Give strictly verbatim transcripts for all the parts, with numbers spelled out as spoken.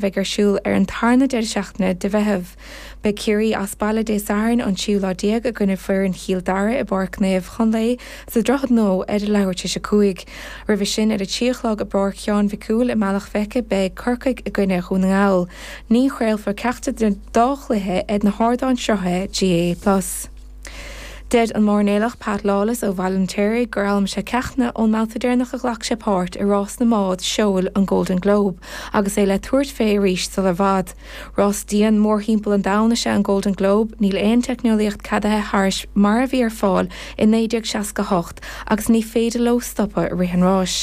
bheidh ar siúl ar an tarna deireadh seachtaine de Mheitheamh. Beidh Ciarraí as baile Dé Sathairn an tríú lá déag i gcoinne foireann Chill Dara i bPáirc Naomh Chonlae sa Droichead Nua ar a leathuair tar éis a cúig. Roimhe sin ar a trí a chlog i bPáirc Sheáin Mhic Cumhaill i mBealach Féich beidh Corcaigh i gcoinne Dhún na nGall. Ní chraolfar ceachtar den dá chluiche ar na hardáin sruthaithe GAA Plus. Deir an mairnéalach Pat Lawless ó Bhaile an Fheirtéaraigh gur fhoghlaim sé ceachtanna ón mbabhta deireanach a ghlac sé páirt i rás na mbád seoil an Golden Globe agus é le tabhairt fé arís sula i bhfad. Rás dian mórthimpeall an domhain is ea an Golden Globe, níl aon teicneolaíocht ceadaithe thairis mar a bhí ar fáil i naoi déag seasca hocht agus ní féidir leo stopadh i rith an ráis.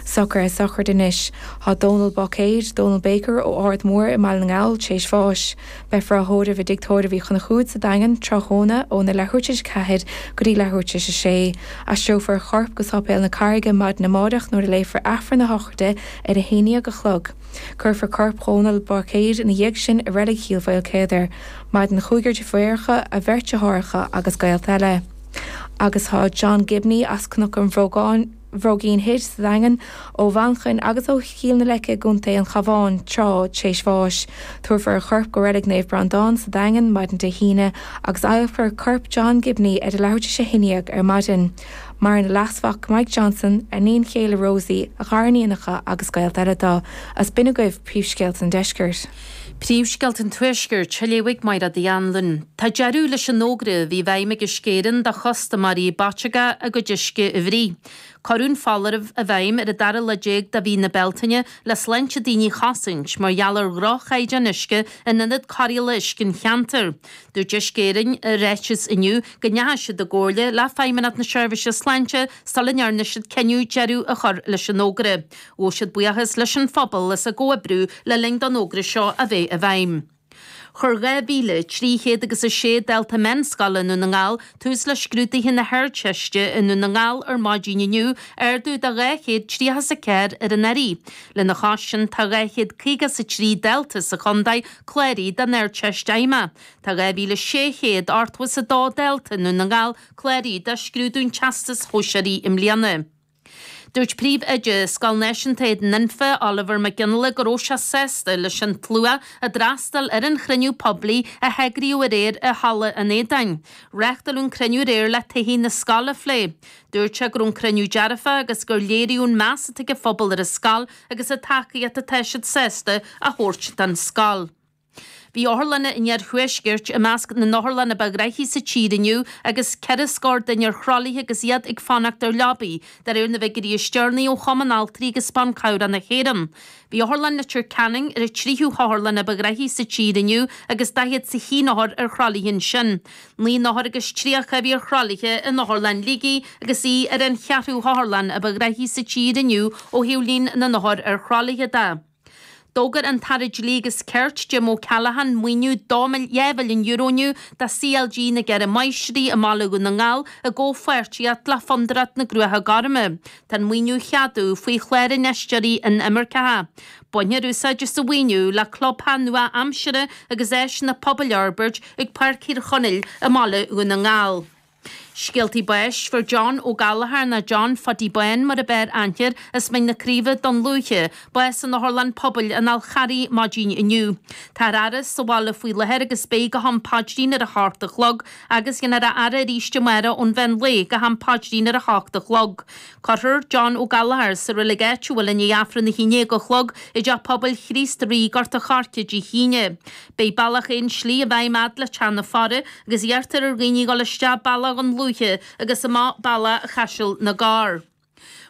Socruithe sochraide anois. Tá Dónal Báicéid, Dónal Baker ó Ard Mór i mBaile na nGall tar éis bháis. Beifear á thórramh i dTigh Tórraimh Uí Chonchúir sa Daingean tráthnóna óna leathuair tar éis a ceathair go dtí leathuair tar éis a sé. Aistreofar a chorp go Sáipéal na Carraige maidin amárach nuair a léifear Aifreann na sochraide ar a haon déag a chlog. Cuirfear corp Dhónal Báicéid ina dhiaidh sin i reilig Chill Mhaoilchéadair. Maireann cúigear deirfiúracha, a bheirt deartháireacha agus gaolta eile. Agus tá John Gibney as Cnoc an Bhrógáin Bhróigín Thoir sa Daingean ó Mhanchain agus ó Chill na Leice i gContae an Chabháin tráth tar éis bháis. Tabharfar a chorp go reilig Naomh Breandán sa Daingean maidin Dé hAoine agus adhlacfar corp John Gibney ar a leathuair tar éis a haon déag ar maidin. Maireann a leasmhac Mike Johnson, a iníon chéile Rosie, a ghariníonacha agus gaolta eile dó. Is b'in agaibh príomhscéalta an deiscirt. Príomhscéalta an Tuaiscirt á léamh ag Máire Anlún. Tá deireadh leis an fhógra a bhí i bhfeidhm ag Uisce Éireann do chustaiméirí Bataga a gcuid uisce a bhruith. Cuireadh an foláireamh i bhfeidhm ar an dara lá déag de mhí na Bealtaine le sláinte daoine a chosaint mar gheall ar dhroch-chaighdeán uisce in ionad cóireála uisce an cheantair. Dúirt Uisce Éireann i ráiteas inniu go ndeachaigh siad i gcomhairle le Feidhmeannacht na Seirbhíse Sláinte sula ndearna siad cinneadh deireadh a chur leis an fhógra. Ghabh siad buíochas leis an phobal as a gcomhoibriú le linn don fhógra seo a bheith i bhfeidhm. Chuir dhá mhíle trí chéad agus a sé dalta meánscoile i nDún na nGall tús le scrúduithe na hArdteiste i nDún na nGall ar maidin inniu ardú de dhá chéad tríocha is a ceathair ar anuraidh. Lena chois sin tá dhá chéad caoga is a trí dalta sa chontae cláraithe don Ardteist Fheidhmeach. Tá dhá mhíle sé chéad ochtó is a dó dalta i nDún na nGall cláraithe do scrúdú an Teastais Shóisearaigh i mbliana. Dúirt príomhoide Scoil Náisiúnta Éadan Anfa Oliver McGinley go raibh sé sásta leis an tslua a d'fhreastail ar an chruinniú poiblí a heagraíodh aréir i Halla an Éadáin. Reáchtáladh an cruinniú aréir le todhchaí na scoile a phlé. Dúirt sé go raibh an cruinniú dearfach agus gur léiríodh an meas atá ag an phobal ar an scoil agus an tacaíocht atá siad sásta a thabhairt don scoil. Bhí otharlanna an iarthuaiscirt i measc na n-otharlanna ba ghnaithí sa tír inniu agus ceithre scór duine ar throlaithe agus iad ag fanacht ar leabaí, de réir na bhfigiúirí is deireanaí ó Chumann Altraí agus Ban Cabhrach na hÉireann. Bhí Otharlann Leitir Ceanainn ar an tríú hotharlann ba ghnaithí sa tír inniu agus daichead is a haon othar ar throlaithe ansin. Naoi n-othar agus tríocha a bhí ar throlaithe in Otharlann Shligigh agus í ar an cheathrú hotharlann a ba ghnaithí sa tír inniu ó thaobh líon na n-othar ar throlaithe de. D'fhógair an tAire Dlí agus Cirt Jim O'Callaghan maoiniú dhá mhilliún euro inniu do CLG na gCeithre Máistrí i mBaile Dhún na nGall i gcomhpháirtíocht le Fondúireacht na gCruacha Gorma. Tá an maoiniú á cheadú faoi chlár infheistíochtaí inimirceacha. Bainfear úsáid as an mhaoiniú le clubtheach nua-aimseartha agus áiseanna pobail a fhorbairt ag Páirc Thír Chonaill i mBaile Dhún na nGall. Scéaltaí báis fuair John Ó Gallchóir nó John Phuddy Bán mar ab fhearr aithne air as Mín na Craoibhe Dún Lúiche, bás in Otharlann Pobail an Fhál Charraigh maidin inniu. Tá ar fhaire sa bhaile faoi láthair agus beidh go ham paidrín ar a hocht a chlog agus déanfar a fhaire arís amárach ón mheán lae go ham paidrín ar a hocht a chlog. Cuirfear John Ó Gallchóir sa reilig áitiúil i ndiaidh Aifreann a haon déag a chlog i dTeach Pobail Chríost Rí Gort an Choirce Dé hAoine. Beidh bealach aon slí i bhfeidhm fhad le Teach na Faire agus iarrtar ar dhaoine dul isteach bealach Dhún Lúiche agus amach bealach Chaiseal na gCorr.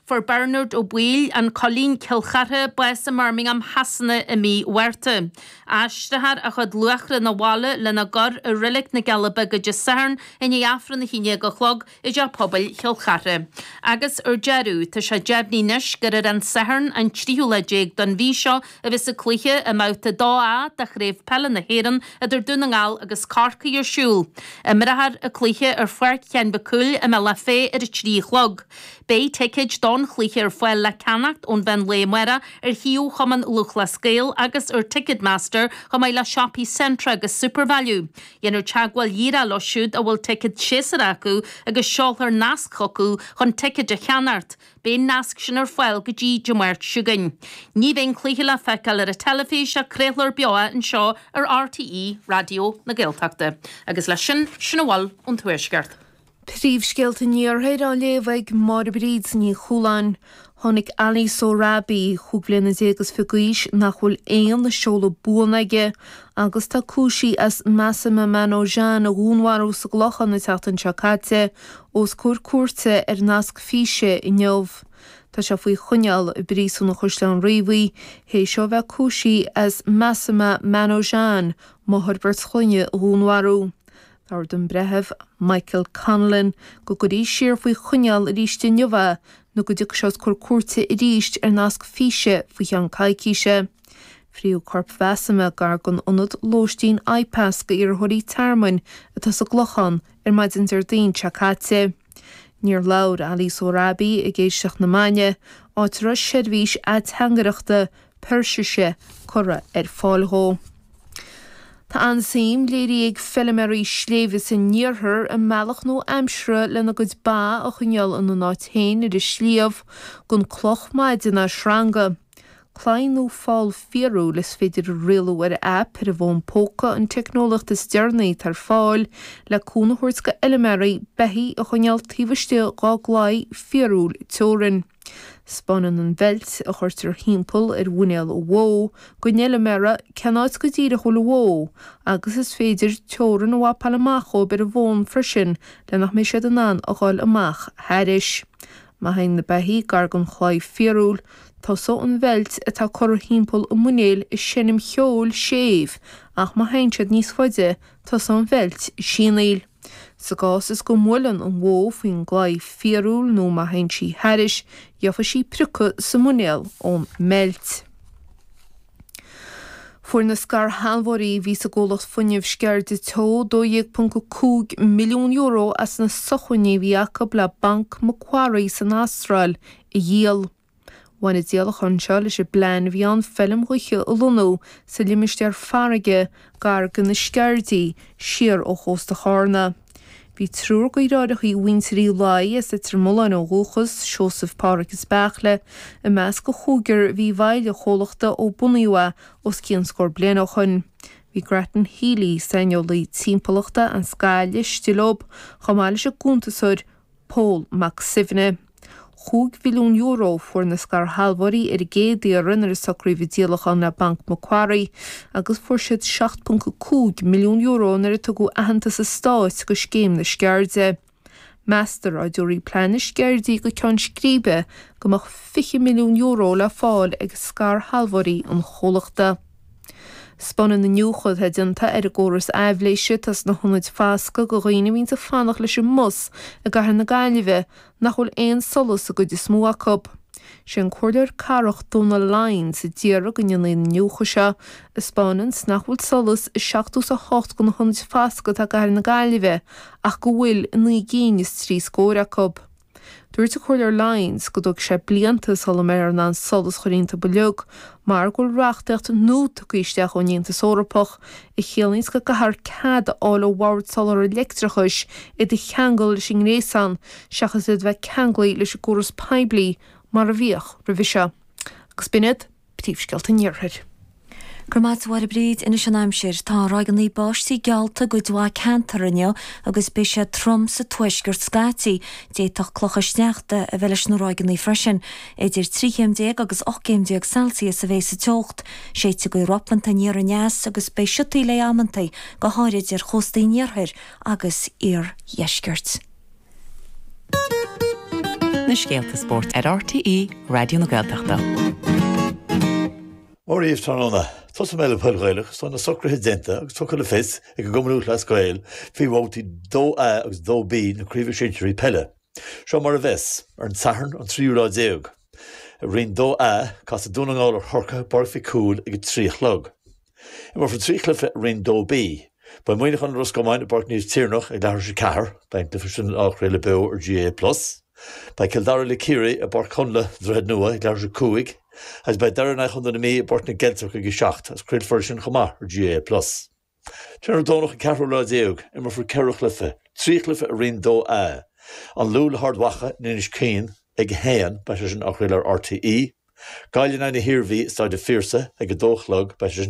Fuair Bernard Ó Baoill an Coillín Cill Chartha bás i mBirmingham Shasana i mí Mhárta. Aistreofar a chuid luachra 'na bhaile lena gcur i reilig na gCealla Beaga Dé Sathairn i ndiaidh Aifreann a haon déag a chlog i dTeach Pobail Chill Chartha. Agus ar deireadh, tá sé deimhnithe anois gur ar an Satharn an tríú lá déag den mhí seo a bheas an cluiche i mbabhta dó A de Chraobh Peile na hÉireann idir Dún na nGall agus Corcaigh ar siúl. Imreofar an cluiche ar Pháirc Sheáin Mhic Cumhaill i mBealach Féich ar a trí a chlog. Beidh ticéid do don chluiche ar fáil le ceannacht ón mheán lae amárach ar shuíomh Chumann Lúthchleas Gael agus ar Ticketmaster chomh maith le siopaí Centra agus Supervalu. Déanfar teagmháil dhíreach leo siúd a bhfuil ticéad séasúrach acu agus seolfar nasc chucu chun ticéid a cheannacht. Beidh an nasc sin ar fáil go dtí Dé Máirt seo chugainn. Ní bheidh an cluiche le feiceáil ar an teilifís ach craolfar beo anseo ar RTÉ Raidió na Gaeltachta. Agus leis sin sin a bhfuil ón Tuaisceart. Príomhscéalta an Iarthair á léamh ag Máire Bríd Ní Chualáin. Tháinig Ali Sohrabi cúig bliana déag is fiche d'aois nach bhfuil aon seoladh buan aige agus tá cúisithe as Masuma Manojan a dhúnmharú sa gClochán an tseachtain seo caite os comhair cúirte ar nasc físe inniu. Tá sé faoi choinneáil i bpríosún an Chaisleáin Riabhaigh théis dó bheith cúisithe as Masuma Manojan, máthair beirt chlainne a dhúnmharú. D'ordaigh an breitheamh Michael Conlon go gcuirfí siar faoi choinneáil arís inniu é nó go dtiocfaidh sé os comhair cúirte arís ar nasc físe faoi cheann coicíse. Fríodh corp Mhasuma gar don ionad lóistín IPAS d'iarrthóirí tearmainn atá sa gClochán ar maidin Déardaoin seo caite. Níor labhair Ali Sohrabi ag éisteacht na maidine, áit a raibh seirbhís ateangaireachta Peirsise curtha ar fáil dhó. Tá an-suim léirithe ag feilméaraí sléibhe san iarthar i mbealach nua aimsire lena gcuid ba a choinneáil ina n-áit féin ar an sliabh gan cloch maide ná sreanga. Claí nó fál fíorúil is féidir a rialú ar aip ar an bhfón póca an teicneolaíocht is deireanaí atá ar fáil le cúnamh a thabhairt do fheilméaraí beithígh a choinneáil taobh istigh dhá gclaí fíorúil teorann. 'Spáineann an bheilt a chuirtear thimpeall ar mhuinéal an bhó don fheilméara cén áit go díreach a bhfuil an bhó agus is féidir teorainn a mhapáil amach dhóibh ar an bhfón freisin le nach mbeidh siad in ann a ghabháil amach thairis. Má théann na beithígh gar don chlaí fíorúil, tosóidh an bheilt atá curtha thimpeall an mhuinéil ag seinm cheoil séimh ach má théann siad níos faide, tosóidh an bheilt ag sianaíl. Sa gcás is go mbuaileann an bhó faoin gclaí fíorúil nó má théann sí thairis, gheobhaidh sí priocadh sa muinéal ón mbeilt. Fuair na scairshealbhóirí a bhí sa gcomhlacht fuinnimh Sceirde Teo dó dhéag ponc a cúig milliún euro as na socmhainní a bhí acu le Banc Macquarie san Astráil a dhíol. Bhain an díolachán seo leis an bplean a bhí ann feilm ghaoithe a lonnú sa limistéar farraige gar do na Sceirdí, siar ó chósta Chárna. Bhí triúr deartháireacha mhuintir Uí Laoi as Leitir Mealláin ó dhúchas, Seosamh, Páraic is Beairtle, i measc an chúigir a bhí i bhfeighil an chomhlachta ó bunaíodh é os cionn scór bliain ó shoin. Bhí Grattan Healy, saineolaí timpeallachta as Gaillimh, istigh leo, chomh maith leis an gcuntasóir Pól Mac Suibhne. Chúig mhilliún euro a fuair na scairshealbhóirí ar an gcéad iarraidh nuair a socraíodh an díolachán le Banc Macquarie agus fuair siad seacht ponc a cúig milliún euro nuair a tugadh aitheantas an stáit do scéim na Sceirde. Meastar dá dtabharfaí plean na Sceirdí go ceann scríbe go mbeadh fiche milliún euro le fáil ag scairshealbhóirí an chomhlachta. 'Spáineann iniúchadh atá déanta ar an gcóras aibhléise atá sna hionaid foscaidh do dhaoine a bhíonns ag fanacht leis an mbus i gcathair na Gaillimhe nach bhfuil aon solas i gcuid is mó acu. Sé an Comhairleoir Cathrach Dónal Lyons a d'iarraidh go ndéanfaí an iniúchadh seo, a 'spáineanns nach bhfuil solas i seachtó is a hocht de na hionaid foscaidh atá i gcathair na Gaillimhe ach go bhfuil i naoi gcinn is trí scór acu. Dúirt an Comhairleoir Lyons go dtógfaidh sé blianta sula mbeifear in ann solas a chur iontu uilig mar go bhfuil reachtaíocht nua tugtha isteach ón Aontas Eorpach a chiallaíonns go gcaithfear cead a fháil ó Bhord Soláthair Leictreachais iad a cheangal leis an ngréasán seachas iad a bheith ceanglaithe leis an gcóras poiblí mar a bhíodh roimhe seo. Agus b'in iad príomhscéalta an Iarthair. Go raibh maith agat a Mháire Bríd, anois an aimsir. Tá ráigeanna báistí geallta i gcuid mhaith ceantar inniu agus beidh sé trom sa tuaisceart scaití. D'fhéadfadh clocha sneachta a bheith leis na ráigeanna freisin. Idir trí chéim déag agus ocht gcéim déag Celsius a bheidh sa teocht. Séidfidh gaoth ropanta aniar aneas agus beidh siotaí léi amantaí, go háirid ar chóstaí an iarthair agus iardheiscirt. Na scéalta spóirt ar RTÉ Raidió na Gaeltachta. Mora dhaoibh tráthnóna. Tosóidh mé le peil Ghaelach tá na socruithe déanta agus tugtha le fios ag an gCumann Lúthchleas Gael faoi bhabhtaí dó A agus dó B na Craoibhe Sinsearaí Peile. Seo mar a bheas, ar an Satharn an tríú lá déag. I Roinn dó A, casfaidh Dún na nGall ar Chorcaigh i bPáirc Mhic Cumhaill ag a trí a chlog. Imreofar trí chluiche i Roinn dó B. Beidh Muineachán ar Ros Comáin i bPáirc Naomh Tiarnach ag leathuair tar éis a ceathair. Beidh an cluiche sin á chraoladh beo ar GAA Plus. Beidh Cill Dara le Ciarraí i bPáirc Chonla, Droichead Nua, ag leathuair tar éis a cúig agus beidh Doire in aghaidh Chontae na Mí i bPáirc na gCeilteach ag a seacht agus craolfar sin chomh maith ar GAA Plus. Tráthnóna Domhnach an ceathrú lá déag, imreofar ceithre chluiche, trí chluiche i Roinn dó A, An Lú le hArd Mhacha in Inis Caoin ag a haon, beidh sé sin á chraoladh ar RTÉ, Gaillimh in aghaidh na hIarmhí i Staid an Phiarsaigh ag a dó a chlog, beidh sé sin